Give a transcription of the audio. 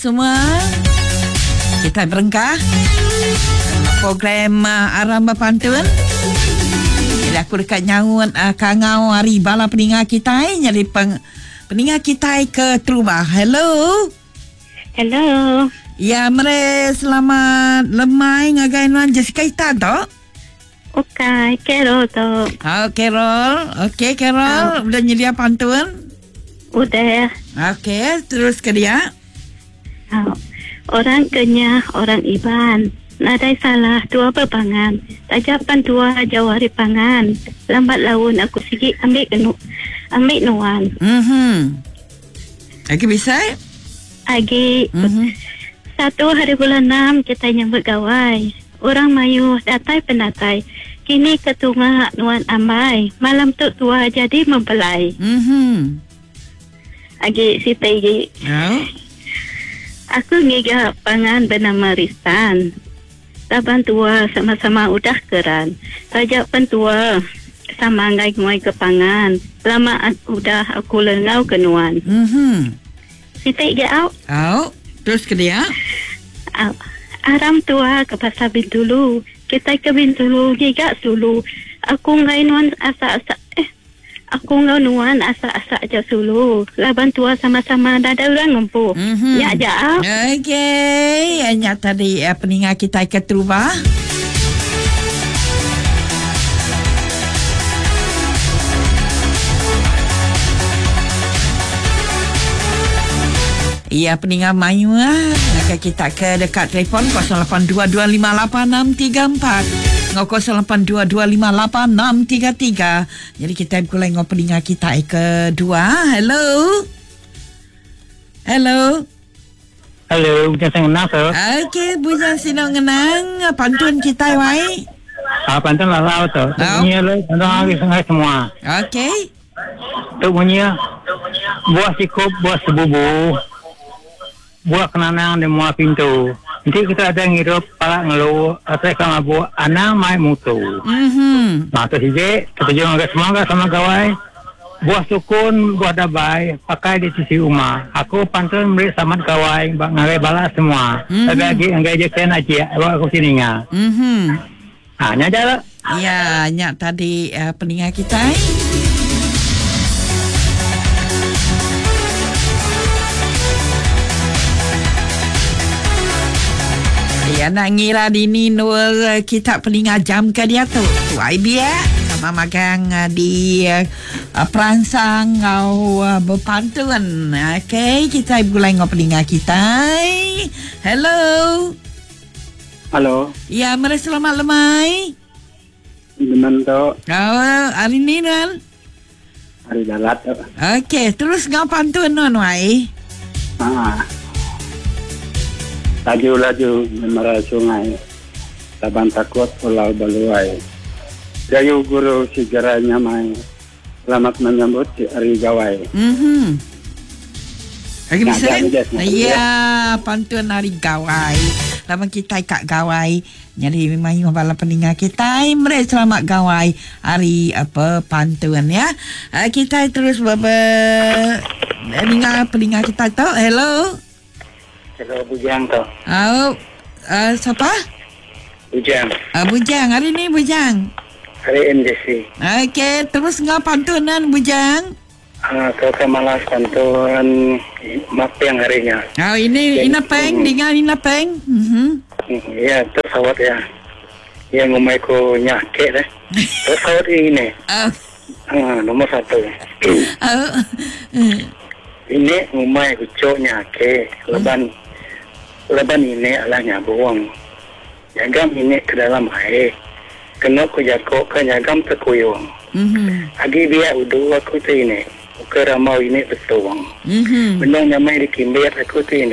Semua kita berengkah program Aram Bepantun. Jadi aku dekat nyaut kangau hari bala peninga kita jadi peng, peninga kita ke terubah. Hello. Hello. Ya, mere selamat lemai ngagai nuan Jessica Itan tu. Okey, Carol tu. Oh, Carol. Okey, Carol. Udah nyedia pantun? Udah. Okey, terus ke dia. Oh. Orang Kenyah, orang Iban. Nadai salah tua bepangan. Taja pan tua jauh ari pangan. Lambat laun aku sigi ambi kenu ambi nuan. Mhm. Agi bisa? Agi. Mhm. Satu hari bulan enam kitai nyambut gawai. Orang mayuh datai penatai. Kini ke tunga nuan ambai. Malam tu tua jadi mempelai. Mhm. Agi siti agi. Au. Aku ngiga pangan benama Ristan. Laban tua sama-sama udah keran. Taja pen tua sama enggai nguai ke pangan. Lama udah aku lengau ke nuan. Mhm. Siti agi au. Au. Terus ke dia. Au. Aram tua ke pasar Bintulu. Kitai ke Bintulu ngiga sulu. Aku enggai nuan asa-asa eh. Aku enggau nuan asak-asak aja sulu laban tua sama-sama nadai orang ngempu. Mm-hmm. Nya aja. Okey, nya tadi eh, peninga kita ke terubah. Ya, peninga mayu ah. Maka kita ke dekat telefon 0822586634 ngau 0822586633. Jadi kita begulai ngau peninga kita kedua. Hello. Hello. Hello, Bujang Sinau tu. Okey, Bujang Sinau ngenang pantun kita wai. Ah, pantun lalau tu. Tu bunyi lu, pantun hari sungai semua. Okey. Tu bunyi buah sikup, buah sebubu. Buah kenanang di mua pintu. Nanti kita ada ngirup palak ngelu atau ikan mabuk anang mai mutu. Mhm. Nah, tu siji, kita juga agak semua agak sama gawai. Buah sukun, buah dabai, pakai di sisi rumah. Aku pantun beri samat gawai, ngagai bala semua. Mhm. Tapi lagi ngagai je kena aji, awak aku sini nga. Mhm. Ha, nya aja lah. Ya, nya tadi peninga kita. Ya, nak ngira dini nur kita peninga jam ke dia tu. Tuai biak sama magang di perangsang ngau berpantun. Okey, kita mulai ngau peninga kita. Hello. Halo. Ya, mari selamat lemai. Dengan tu. Oh, hari ni nan. Hari dalat tu. Okey, terus ngau pantun non wai. Ha. Laju-laju memara sungai. Laban takut pulau baluai. Gayu guru segera nyamai. Selamat menyambut si hari gawai. Mhm. Lagi Nah, bisa? jangan, jangan. Ya, pantun hari gawai. Lama kita kat gawai. Jadi memang you bala peninga kita meri selamat gawai hari apa pantun ya. Kita terus ber peninga kita tu. Hello. Hello Bujang tu. Oh, siapa? Bujang. Bujang, hari ni Bujang. Hari MJC. Okey, terus ngau pantunan Bujang. Kau ke malas pantun mapeng harinya. Oh, ini ina peng, dengar ina peng. Mhm. Ya, terus awak ya. Yang ngumai ku nyakek deh. Terus awak ini. Oh. Nomor satu. Oh. Ini ngumai ku cok nyakek. Leban leban ini adalah nyabuang. Nyagam ini ke dalam air. Kena ku jakok ke nyagam terkuyung. Mhm. Agi biar udu aku tu ini. Ke ramau ini betuang. Mhm. Benang nyamai dikimbir aku tu ini.